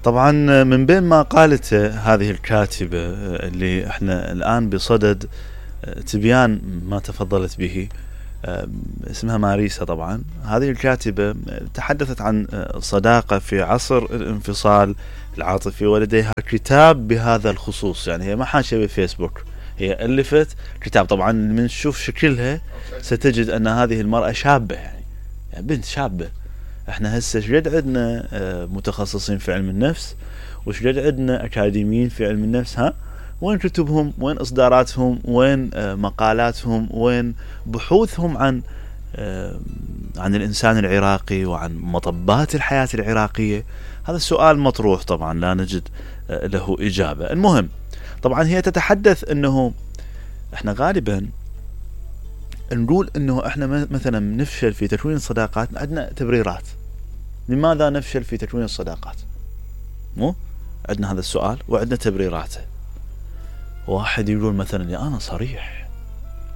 طبعا من بين ما قالته هذه الكاتبة اللي احنا الآن بصدد تبيان ما تفضلت به، اسمها ماريسا. طبعا هذه الكاتبة تحدثت عن صداقة في عصر الانفصال العاطفي، ولديها كتاب بهذا الخصوص. يعني هي ما حاشة بفيسبوك، هي ألفت كتاب. طبعا من تشوف شكلها ستجد أن هذه المرأة شابة، يعني بنت شابة. احنا هسه شقد عندنا متخصصين في علم النفس، وشقد عندنا أكاديميين في علم النفس. وين كتبهم؟ وين إصداراتهم؟ وين مقالاتهم؟ وين بحوثهم عن الإنسان العراقي وعن مطبات الحياة العراقية؟ هذا السؤال مطروح، طبعا لا نجد له إجابة. المهم، طبعا هي تتحدث أنه احنا غالبا نقول أنه احنا مثلا نفشل في تكوين الصداقات. عندنا تبريرات لماذا نفشل في تكوين الصداقات، مو عندنا هذا السؤال وعندنا تبريراته. واحد يقول مثلا يا أنا صريح،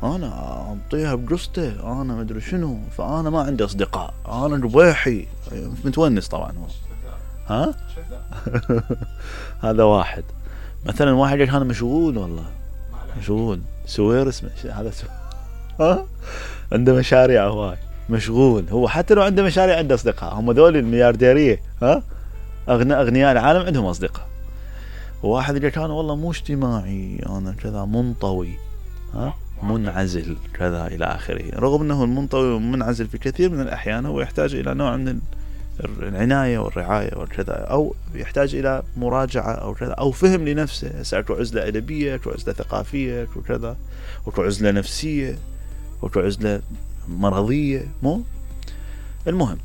أنا أعطيها بقصته، أنا مدري شنو، فأنا ما عندي أصدقاء، أنا ربيحي متونس. طبعا هو هذا واحد. مثلا واحد يقول أنا مشغول، والله مشغول سويرس هذا عنده مشاريع هواي، مشغول. هو حتى لو عنده مشاريع عنده أصدقاء. هم ذول المليارديرية، أغنياء العالم عندهم أصدقاء. وواحد يقول أنا والله مو اجتماعي، أنا كذا منطوي، منعزل كذا إلى آخره. رغم أنه المنطوي والمنعزل في كثير من الأحيان هو يحتاج إلى نوع من العناية والرعاية والكذا، أو يحتاج إلى مراجعة أو كذا، أو فهم لنفسه. أكو عزلة أدبية، أكو عزلة ثقافية، أكو كذا، أكو عزلة نفسية، أكو عزلة مرضية. مو المهم،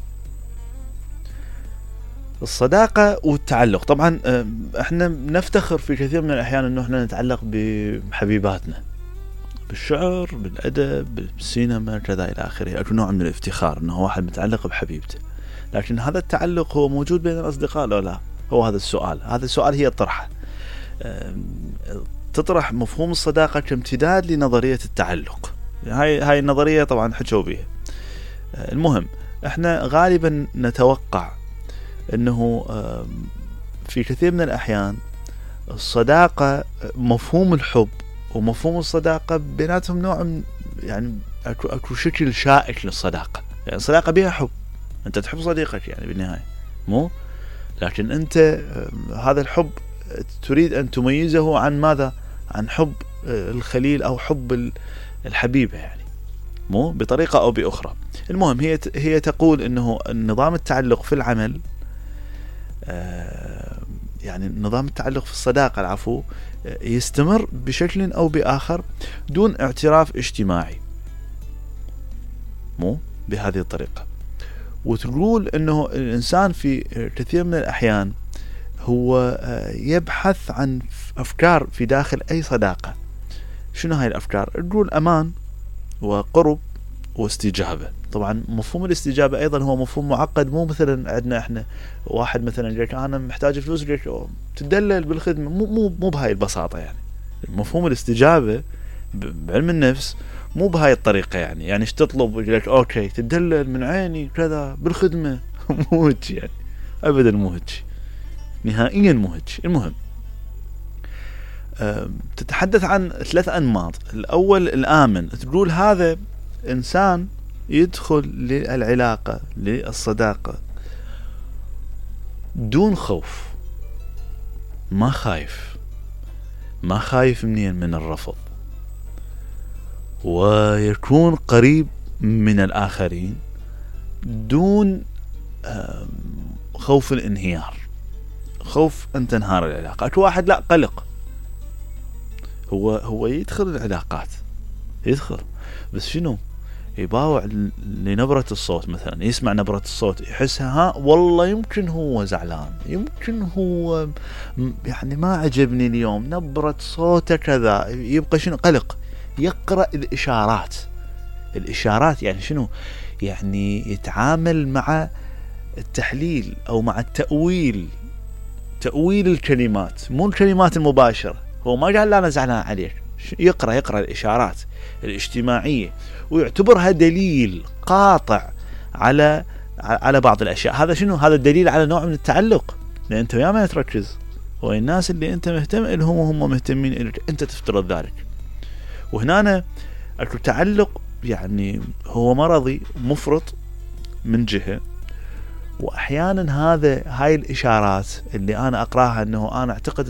الصداقة والتعلق. طبعا احنا نفتخر في كثير من الأحيان أنه احنا نتعلق بحبيباتنا، بالشعر، بالأدب، بالسينما كذا إلى آخره. أكو نوع من الافتخار أنه واحد متعلق بحبيبته. لكن هذا التعلق هو موجود بين الأصدقاء لو لا؟ هو هذا السؤال. هذا السؤال هي طرحه، تطرح مفهوم الصداقة كامتداد لنظرية التعلق. هاي النظرية طبعا حكوا بيها. المهم، احنا غالبا نتوقع انه في كثير من الأحيان الصداقة، مفهوم الحب ومفهوم الصداقة بيناتهم نوع من، يعني اكو شكل شائك للصداقة. يعني الصداقة بها حب، انت تحب صديقك يعني بالنهاية، مو؟ لكن انت هذا الحب تريد ان تميزه عن ماذا؟ عن حب الخليل او حب الحبيبة، يعني مو بطريقة او باخرى. المهم، هي تقول انه نظام التعلق في العمل، يعني نظام التعلق في الصداقة العفو، يستمر بشكل أو بآخر دون اعتراف اجتماعي، مو بهذه الطريقة. وتقول أنه الإنسان في كثير من الأحيان هو يبحث عن أفكار في داخل أي صداقة. شنو هاي الأفكار؟ تقول أمان وقرب واستجابة. طبعا مفهوم الاستجابة أيضا هو مفهوم معقد. مو مثلا عندنا احنا واحد مثلا يقول أنا محتاج فلوس، يقول تدلل بالخدمة. مو بهاي البساطة. يعني مفهوم الاستجابة بعلم النفس مو بهاي الطريقة. يعني ايش تطلب؟ يقول لك اوكي تدلل من عيني كذا بالخدمة. مو هيك يعني، ابدا مو هيك، نهائيا مو هيك. المهم، تتحدث عن 3 أنماط. الأول الآمن. تقول هذا إنسان يدخل للعلاقة، للصداقة دون خوف، ما خايف من الرفض، ويكون قريب من الآخرين دون خوف الانهيار، خوف أن تنهار العلاقة. أكو واحد لا، قلق، هو يدخل العلاقات، يدخل بس شنو؟ يباوع لنبرة الصوت. مثلا يسمع نبرة الصوت يحسها والله يمكن هو زعلان، يمكن هو يعني ما عجبني اليوم نبرة صوته كذا. يبقى شنو؟ قلق. يقرأ الإشارات. يعني شنو؟ يعني يتعامل مع التحليل أو مع تأويل الكلمات، مو الكلمات المباشرة. هو ما قال لا أنا زعلان عليك، يقرأ الإشارات الاجتماعية ويعتبرها دليل قاطع على على بعض الاشياء. هذا شنو؟ هذا دليل على نوع من التعلق، لان انت ويا ما تركز والناس اللي انت مهتم لهم وهم مهتمين لك، انت تفترض ذلك. وهنا اكو تعلق يعني هو مرضي مفرط من جهة، واحيانا هاي الاشارات اللي انا اقراها انه انا اعتقد